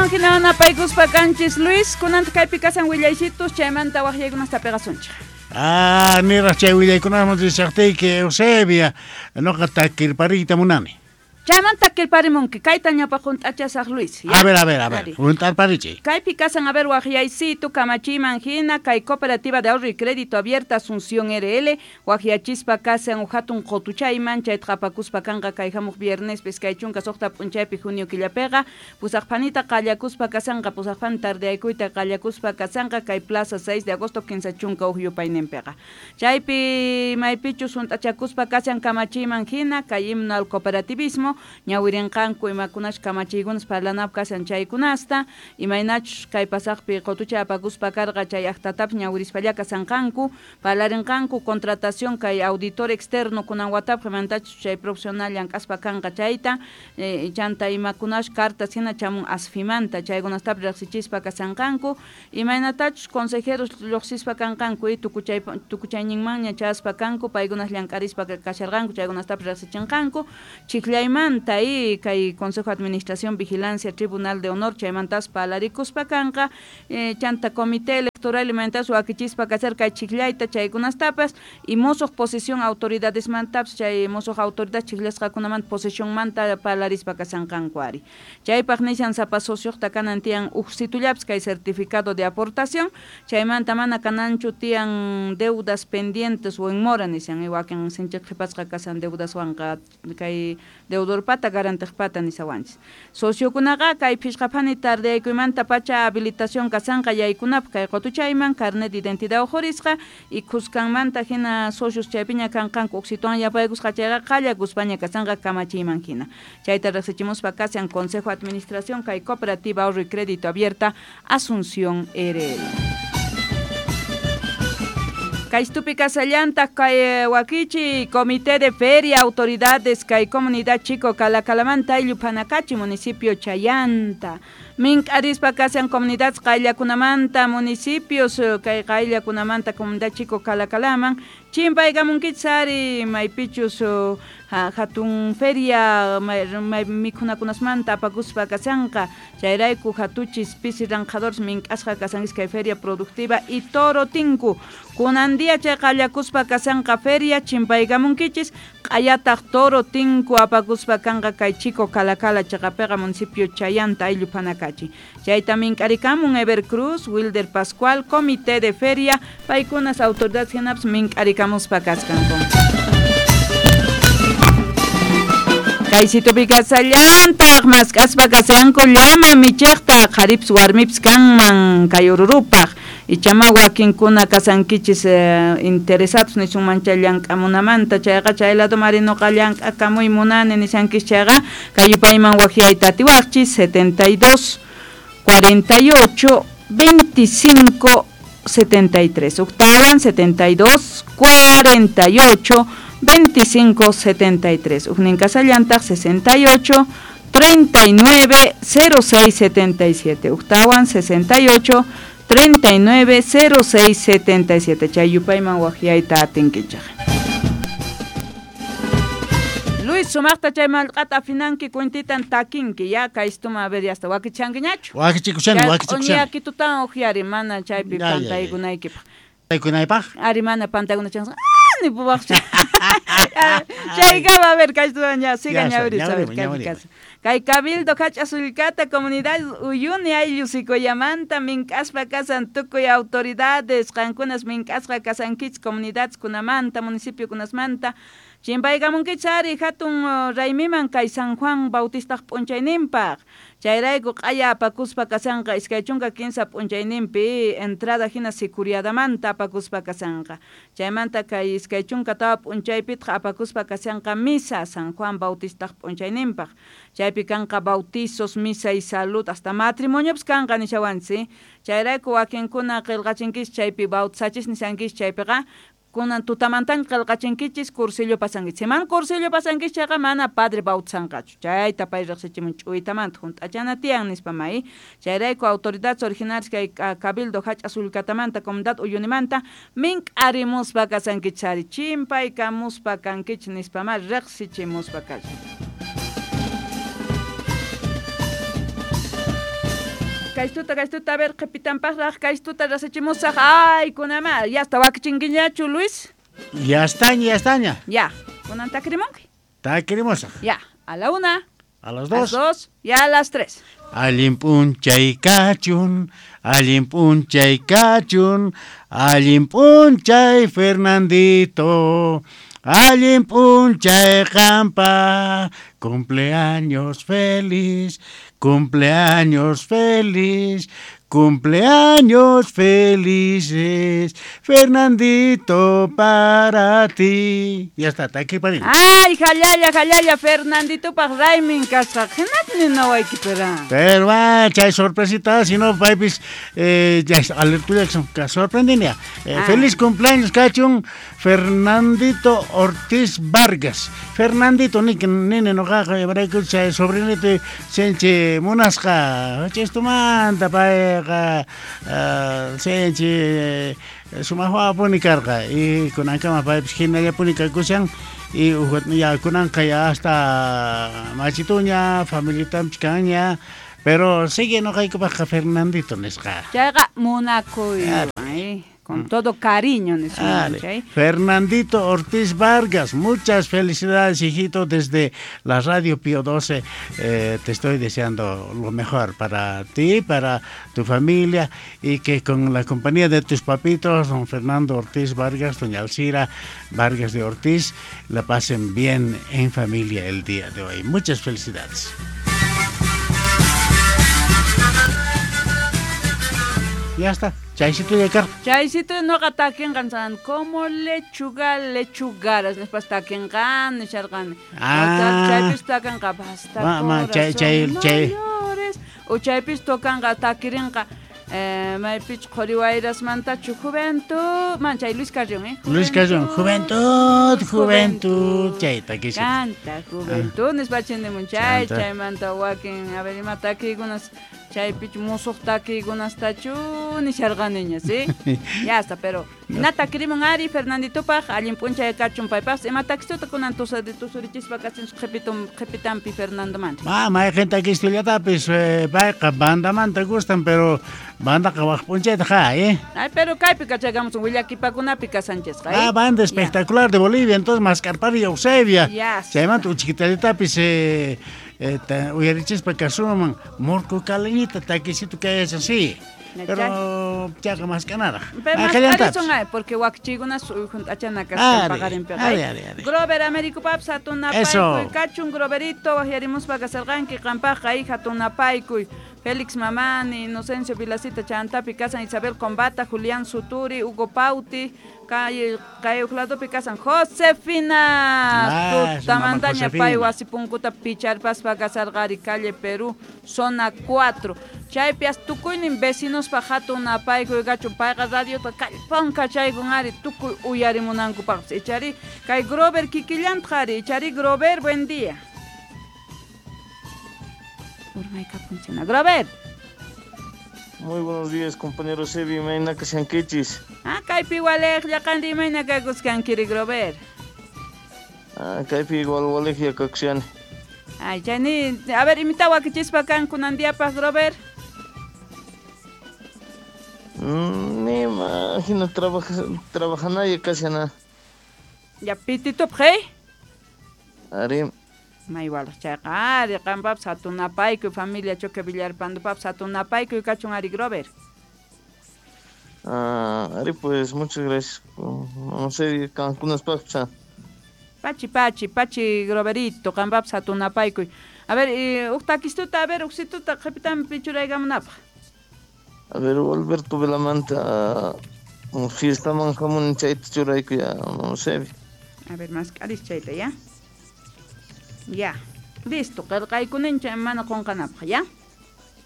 Chaytawan hina napaykuspa kanchis Luis, kunanta kaypi kasan willaysitus, chaymanta waqyaykunasta pegasunchik. Ah, niraq chay willaykunaman rishaqtiyki Eusebia, noqa takirpariyta munani. Chaymanta takirparimunki, kayta ñawpaq hunt'achasaq Luis. A ver, a ver, a ver, hunt'arparichiy. Kaypi kasan, a ver, waqyaysitu kamachiyman hina, kay Cooperativa de Ahorro y Crédito Abierta Asunción RL, waqyachispa kasan hatun qutuchayman, chayta qhapakuspa kanqa kay hamuq viernes iskay chunka suqta p'unchaypi junio killapiqa, pusaqphanita qallakuspa kasanqa, pusaqphani tardeaykuyta qallakuspa kasanqa, kay Plaza 6 de agosto 31 yupayninpiqa. Chaypi maypichus hunt'achakuspa kasan kamachiyman hina, kay himno al cooperativismo, ñawirinqanku imakunash kamachiykunas parlanap kasan chaykunasta, imaynachus kay pasaqpi qutuchay apakuspa karqa chay aqtatapis ñawirispalla kasanqanku, parlarinqanku contratación kay auditor externo kunan watapaq imantachus chay profesional llank'aspa kanqa chayta, chanta imakunash cartas hina chamun asfimanta chaykunastapis riqsichispa kasanqanku, imaynatachus consejeros lluqsispa kanqanku y tukuchayninmanña chayaspa kanku, paykunas llank'arispa kasharqanku chaykunastapis riqsichinqanku, chikllaymanta y kay Consejo de Administración, Vigilancia, Tribunal de Honor chaymantas parlarikuspa kanqa, chanta Comité Electoral imantas wakichispa kasar kay chikllayta chaykunastapas y mosoq posición autoridadesmantapas chay mosoq autoridad chikllasqakunamanta posicionmanta parlarispa kasanqanku ari. Chaypaq nishan sapa socioqta kanan tiyan uj situllapis kay certificado de aportación, chaymanta mana kananchu tiyan deudas pendientes o en mora nishan, y wakin sinchiq qhipasqa kasan deudaswanqa kay deudorpata garantiqpata nisawanchis. Sociokunaqa kay phishqaphani tardeaykuymanta pacha habilitación kasanqa yaykunapaq kay qutuchayman carnet de identidad ujurisqa y khuskanmanta hina socios chaypiña kanqanku uksituwan yapaykusqa chayqa qallakuspaña kasanqa kamachiyman hina. Chayta riqsichimuspa kasan Consejo de Administración kay Cooperativa Ahorro y Crédito Abierta Asunción RL. Kaystupi kasallantaq kay wakichi Comité de Feria, autoridades kay Comunidad Chico Calacalamanta ayllu Panacachi, municipio Chayanta. Mink'arispa kasan comunidades qayllakunamanta municipios kay qayllakunamanta Comunidad Chico Calacalaman chimpaykamunkichis ari maypichus hatun feria mikhunakunasmanta apakuspa kasanqa chayrayku hatuchis pisi ranqadores mink'asqa kasankis kay feria productiva y toro tinku kunan día chay qallakuspa kasanqa feria chimpaykamunkichis q'ayataq toro tinku apakuspa kanqa kay Chico Calacala chaqapiqa municipio Chayanta ayllu Panacachi. Chayta mink'arikamun Ever Cruz, Wilder Pascual, Comité de Feria, paykunas autoridades hinapas mink'arikamuspa kaskanku. Kay situpi kasallantaq mask'aspa kasanku llama michiqta qharipis warmipis kanman kay ururupaq ichama wakinkuna kasankichis interesados nisunman chay llank'amunamanta chayqa chay lado mari noqa llank'akamuy munani nisankis chayqa kay yupayman waqyayta atiwaqchis 72 48 25 73 octawan 72 48 25 73 ujnin kasallantaq 68 39 06 77 octawan 68 39 06 77 chay yupayman waqyayta atinkichaq. Luis sumaqta chay mallqata afinanki cuentitan takinki ya kaystuma a ver ya hasta wakichankiñachu wakichikushani wakichikushani yakitutan uqyari mana chaypi pantaykunaykipaq pantaykunaypaq ari mana pantaykunachanqa ni puwaqcha chaykama a ver kaystuman ya siga ñawiriz a ver kaypi kasa kay Cabildo Hach'a Sullkata Comunidad Uyuni ayllu Sikoyamanta mink'aspa kasan tukuy autoridades qankunas mink'asqa kasankichis comunidades kunamanta municipio kunasmanta chimpaykamunkichis ari hatun raymiman kay San Juan Bautistaq p'unchayninpaq chayrayku q'aya apakuspa kasanqa 23 p'unchayninpi entrada hina sicuriadamanta apakuspa kasanqa chaymanta kay 24 p'unchaypitaq apakuspa kasanqa misa San Juan Bautistaq p'unchayninpaq chaypi kanqa bautizos, misa y salud hasta matrimoniopas kanqa nishawanchis chayrayku wakinkuna qillqachinkichis chaypi bautizachis nishankichis chaypiqa kunan tutamantan qillqachinkichis cursillo pasankichis man cursillo pasankichis chayqa mana padre bautizanqachu chayta pay riqsichimun ch'uytamanta hunt'achana tiyan nispa may chayrayku autoridades originales kay Cabildo Hach'a Sullkatamanta Comunidad Uyunimanta mink'arimuspa kasankichis ari chimpaykamuspa kankichis nispa ma riqsichimuspa kashan. Kaystuta, kaystuta, a ver, qhipitanpaqraq kaystuta rasachimusaq. Ay, kunama, ya está wakichinkiñachu, Luis? Ya estaña, ya estaña. Ya, kunan takirimunki. Takirimusaq. Ya, a la 1. A las A las 2. 2 y a las 3. Allin p'unchay kachun, allin p'unchay kachun, allin p'unchay Fernandito, allin p'unchay qampa, cumpleaños feliz, cumpleaños feliz, cumpleaños felices, Fernandito para ti. Ya está, takiparin. Ay, jalalla, jalalla, Fernanditopaq raymin kasqa. Hinat ninawayki pera. Pero va, chay sorpresita, si no, paypis, ya alertulla sorprendenia. Feliz cumpleaños, kachun, Fernandito Ortiz Vargas. Fernandito, ni nene noqaqa, imarayku chay sobrinito sinchi munasqa. Chistumanta payqa, sinchi sumaq wawapuni karqa. Y kunankama paypis hinallapuni kakushan. Y ya kunanqa ya hasta machituña, familitanpis kanña. Pero sigue noqaykupaqqa Fernandito nisqa. Chayqa munakuy, con todo cariño nisqa, chay. Fernandito Ortiz Vargas, muchas felicidades, hijito, desde la Radio Pío 12. Te estoy deseando lo mejor para ti, para tu familia, y que con la compañía de tus papitos, don Fernando Ortiz Vargas, doña Alcira Vargas de Ortiz, la pasen bien en familia el día de hoy. Muchas felicidades. Ya está. Chaycito ya kar. Chaycito noqa takinqan san como lechuga lechugaras nispas takinqan nisharqan. Chaypis takanqa basta chay chay corazón, no chay. llores. O chaypis tokanqa takirinqa maypich qhuriwayrasmantachu juventud man chay Luis Carrión, Luis Carrión, juventud, juventud, chay takisqa. Canta juventud nispa chindimun chay, Chanta. chaymanta wakin, a ver, ima takiykunas chaypich musuq takiykunastachu nisharqaniña, ¿sí? Ya está, pero na takirimun ari Fernanditopaq allin p'unchay kachun paypaqpas ima takistuta kunan tusurichispa kasin qhipitampi Fernandomanta. Ah, mayqin takistullatapis, payqa bandamanta gustan, pero bandaqa waq p'unchayta ja, Ay, pero kaypi kachakamusun willakipakunapi kasanchasqa, Ah, banda espectacular de Bolivia, entonces Mascarpari y Eusebia. Ya está. Chaymanta uchikitallatapis, uyarichispa kasuman murku kaliñita takisito kayachan, sí. Ya, Pero chaqa maskanaraq. Pero Ah, más qallantapis. son ay, porque wakchikunas junt'achana kasqan Ari, paqarinpiqa, ari, ari, ari. Grover Américo Paps hatunapaykuy Eso. kachun Groverito waqyarimuspa kasarqanki qampaqqa hija hatunapaykuy Félix Mamani, Inocencio Vilacita Chantapi kasan Isabel Combata, Julián Suturi, Hugo Pauti, kay uqladopi kasan Josefina. Ah, su mamá Tutamantaña Josefina. pay wasi punkuta picharpaspa kasarqari calle Perú, zona 4. Chaypias tukuynin vecinospa hatunapaykuy kachun payqa radiota kallpanka chaykun ari tukuy uyarimunankupaqpas. Ichari kay Grover kikillantaq ari, ichari Grover, buen día. Urmaykapun Grover. Muy buenos días, compañero Sebi, imayna kashankichis. Ah, kaypi waliqlla qanri imayna kakusqankiri Grover. Ah, kaypi igual waliqlla kakushani. Ay, chayni, a ver, imita wakichispa kan kunan diapaq Grover. Nima, hina trabajanaya kashana. Ya pititupaq, hey? Ari. May walaq chayqa ari qampapas hatunapaykuy familia Choque Villarpandopapas hatunapaykuy kachun ari Grover. Ah, ari pues muchas gracias. No sé, kankunaspaqpas. Pachi, pachi, pachi Groverito, qampapas hatunapaykuy. A ver, huk takistuta, a ver, uksituta qhipitanpi churaykamunapaq. A ver, Alberto Velamanta, fiestaman hamun chayta churaykuy, ya, no sé. A ver, más aris chayta, ya. Ya, listo, qillqaykunincha mana qunqanapaq, ya.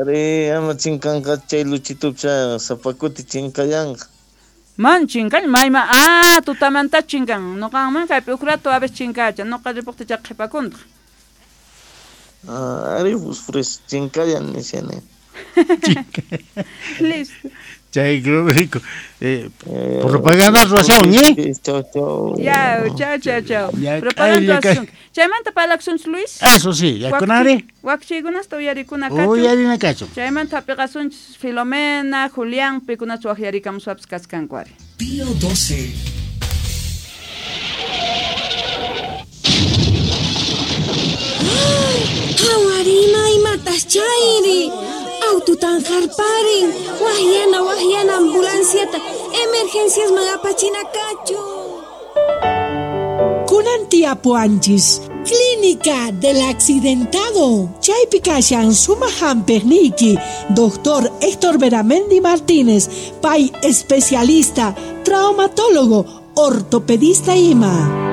Ari, ama chinkanqa chay luchitupcha sapakuti chinkayanqa. Man chinkan, mayma, ah, tutamanta chinkan. Noqanman kaypi huk rato a veces chinkacha, noqa ripuqticha qhipakuntaq. Ah, ari, pues, pues chinkayan nishani. Listo. Chay grupo propaganda ruwasun, ¿eh? Chau, chau. Ya, chau, chau, chau. Propaganda ruwasun. Chaymanta parlakusunchis, Luis. Eso sí, ya kunari. Wakchiykunasta uyarikuna kachun. Uyarina kachun. Chaymanta hapiqasunchis Filomena, Julián, pikunachu waqyarikamuswapis kaskanku ari. Pío 12. Hawarima imatas chayri. Aututan harparin, wahyana wahyana ambulanciata, emergencias magapachina kachu. Kunan tiapuanchis, Clínica del Accidentado. Chaypi kashan sumaq hampiqniyki, Doctor Héctor Beramendi Martínez, pay especialista, traumatólogo, ortopedista ima.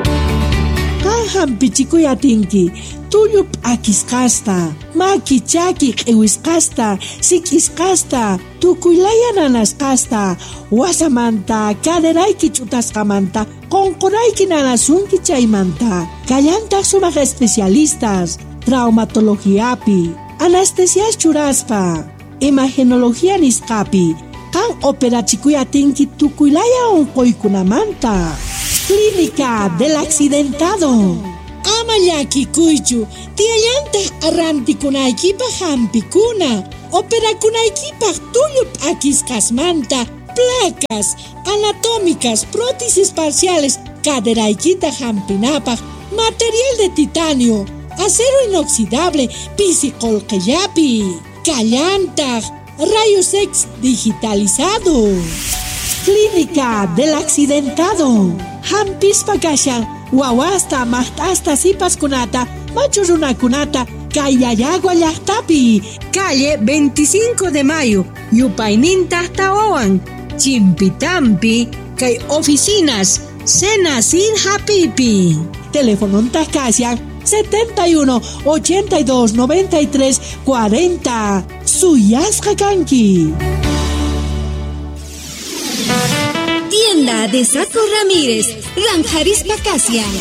Qan hampichikuy atinki, tullu p'akisqasta, maki chaki q'iwisqasta, sik'isqasta, tukuylaya nanasqasta, wasamanta, caderayki ch'utasqamanta, qunqurayki nanasunki chaymanta. Kallantaq sumaq especialistas, traumatologiapi, anestesias churaspa, imagenología nisqapi, qan operachikuy atinki tukuylaya unquykunamanta. Clínica del Accidentado. Ama llakikuychu, tiyallantaq arrantikunaykipaq hampikuna, operakunaykipaq tullu p'akisqasmanta, placas anatómicas, prótesis parciales, caderaykita hampinapaq, material de titanio, acero inoxidable, pisi qullqillapi, kallantaq, rayos X digitalizado. Clínica del Accidentado. Hampispa kashan, wawasta, maqt'asta, sipaskunata, machu runakunata, Kayayagua llaqtapi. Calle 25 de Mayo, yupayninta tawawan, Chimpitampi, kay oficinas, Senacid Hapipi. Teléfono kashan 71 82 93 40. Suyasqa kanki. Tienda de Saco Ramírez, Ranjarispa Kasian.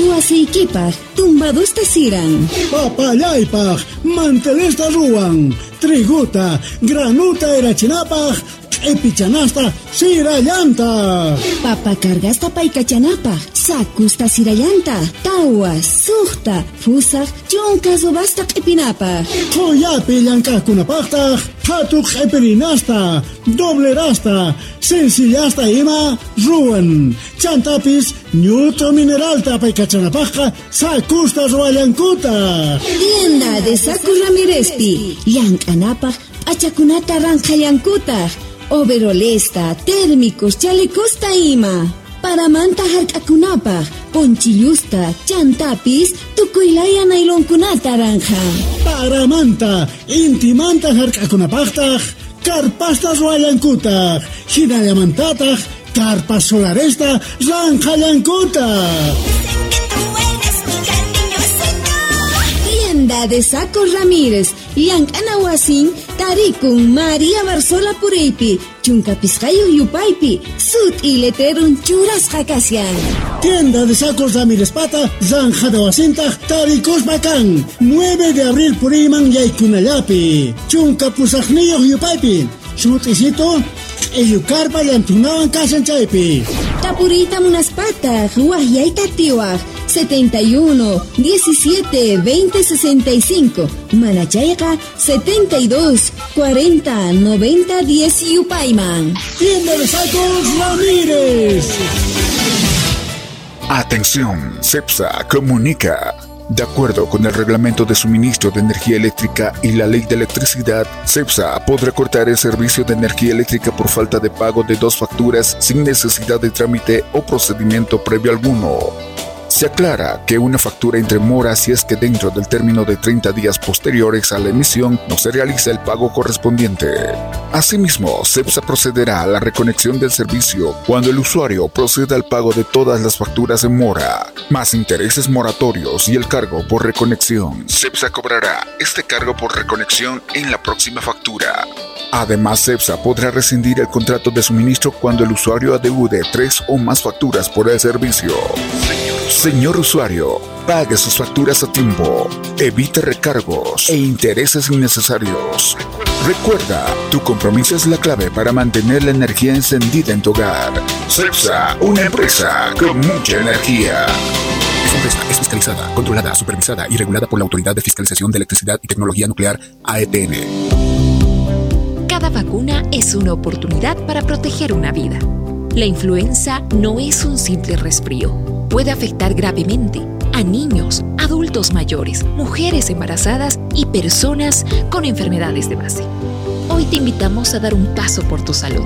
Wasiykipaq, tumbadusta siran. Papallaypaq, mantelesta ruwan. Triguta, granuta erachinapaq, q'ipichanasta sirallanta. Papa cargasta paykachanapaq, sakusta sirallanta, tawa, suqta, fusaq, chunka subasta q'ipinapaq. Qullapi llank'aqkunapaqtaq, qhatu q'ipirinasta, doblerasta, sencillasta ima ruwan. Chantapis ñutu mineralta paykachanapaqqa sakusta ruwallankutaq. Tienda de Saco Ramírezpi, llank'anapaq p'achakunata ranqhallankutaq. Overolesta, térmicos, chalecosta ima. Paramanta hark'akunapaq, ponchillusta, chantapis, tukuylaya nailonkunata ranja. Paramanta, intimanta hark'akunapaqtaq, karpasta ruwallankutaq, hinallamantataq, karpas solaresta ranqhallankutaq. Tienda de Saco Ramírez, llank'ana wasin, tarikun María Barzola Puriypi, chunka pisqayuq yupaypi, sut'i letrerun churasqa kashan. Tienda de Sacos Ramírez Pata, zanjada wasintaq tarikuspa kan, 9 de abril puriyman yaykunallapi, chunka pusaqniyuq yupaypi, sut'isito, q'illukarpa llantunawan kashan chaypi. Tapuriyta munaspataq, wahyayta tiwaq, 71 17 20 65, Manachayqa 72 40 90 10 yupayman. Tienda de Sacos Ramírez. Atención, CEPSA comunica. De acuerdo con el Reglamento de Suministro de Energía Eléctrica y la Ley de Electricidad, CEPSA podrá cortar el servicio de energía eléctrica por falta de pago de 2 facturas sin necesidad de trámite o procedimiento previo alguno. Se aclara que una factura entre mora si es que dentro del término de 30 días posteriores a la emisión no se realiza el pago correspondiente. Asimismo, CEPSA procederá a la reconexión del servicio cuando el usuario proceda al pago de todas las facturas en mora, más intereses moratorios y el cargo por reconexión. CEPSA cobrará este cargo por reconexión en la próxima factura. Además, CEPSA podrá rescindir el contrato de suministro cuando el usuario adeude 3 o más facturas por el servicio. Señor usuario, pague sus facturas a tiempo, evite recargos e intereses innecesarios. Recuerda, tu compromiso es la clave para mantener la energía encendida en tu hogar. CEPSA, una empresa con mucha energía. Esta empresa es fiscalizada, controlada, supervisada y regulada por la Autoridad de Fiscalización de Electricidad y Tecnología Nuclear, AETN. Cada vacuna es una oportunidad para proteger una vida. La influenza no es un simple resfrío. Puede afectar gravemente a niños, adultos mayores, mujeres embarazadas y personas con enfermedades de base. Hoy te invitamos a dar un paso por tu salud.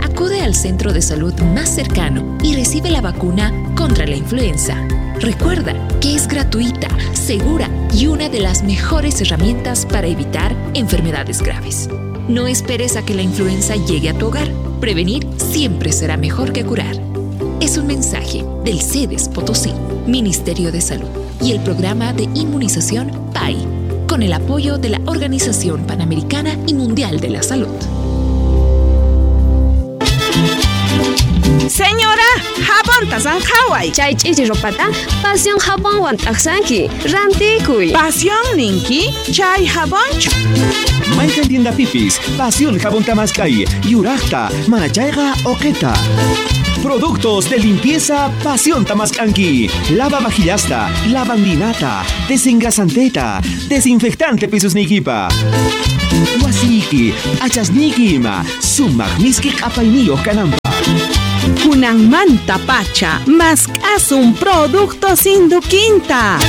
Acude al centro de salud más cercano y recibe la vacuna contra la influenza. Recuerda que es gratuita, segura y una de las mejores herramientas para evitar enfermedades graves. No esperes a que la influenza llegue a tu hogar. Prevenir siempre será mejor que curar. Es un mensaje del CEDES Potosí, Ministerio de Salud y el programa de inmunización PAI, con el apoyo de la Organización Panamericana y Mundial de la Salud. Señora, jabón tasanjaway. Chay ch'ichi ropata, pasión jabón t'aqsanki, rantikuy. Pasión ninki, chay jabonchu. Mayqan tienda pipis, pasión jabón tamaskay, yuraqta, manachayqa oqeta. Productos de limpieza Pasión Tamascanqui. Lava vajillasta, lavandinata, desengrasanteta, desinfectante pisusnikipa. Wasiki, achasniki ima, sumaq miski q'apayniyuq kananpaq. Kunanmanta pacha, mask'asun producto sinduquinta.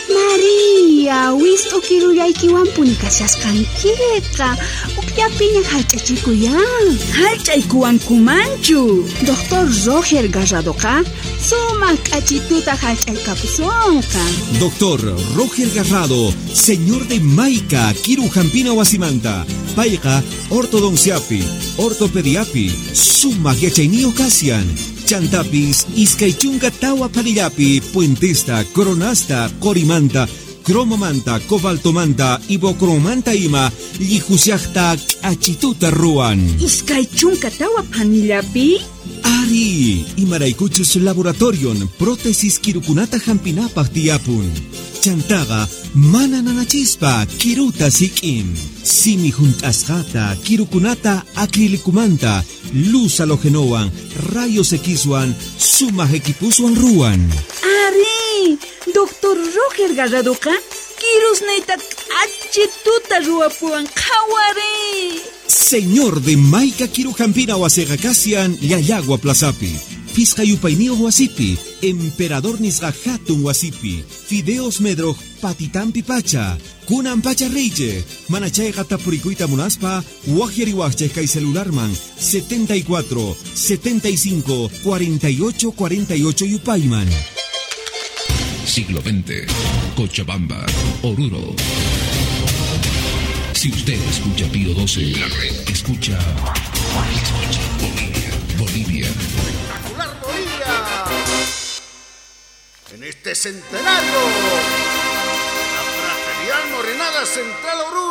María, wist'u kirullaykiwanpuni kashasqankiqa. Ukllapiña hallch'achikuyan. Hallch'aykuwankumanchu. Doctor Roger Garradoqa sumaq k'achituta hallch'aykapusunqa. Doctor Roger Garrado, señor de Maica, Kiru Jampina Wasimanta, Payqa, ortodonciapi, ortopediapi, sumaq yachayniyuq kasian. Chantapis, iskay chunka tawa panillapi, puentesta, coronasta, qorimanta, cromomanta, cobaltomanta, ibocromanta ima, llihusiaqta k'achituta ruwan. Iskay chunka tawa panillapi? Ari, imaraykuchus laboratorion, prótesis kirukunata hampinapaq tiyapun. Chantaqa mana nanachispa kiruta sik'in. Simi hunt'asqata, kirukunata acrilicumanta, luz halogenowan, rayos Xwan, sumaq equipuswan ruwan. Ari, Doctor Roger Garradoqa kirusniyta k'achituta ruwapuwan qhawari. Señor de Maica Kirujampina wasiqa kasian Llallagua Plazapi. Pisqa yupayniyuq wasipi, Emperador nisqa hatun wasipi, Fideos Medroj patitampi pacha, kunan pacha reyche, mana chayqa tapurikuyta munaspa, waqyariwaqchik kay celularman 74 75 48 48 yupayman. Siglo XX, Cochabamba, Oruro. Si usted escucha Pío 12, la red escucha Bolivia, Bolivia. Espectacular Bolivia. En este centenario, la Fraternidad Morenada Central Oruro.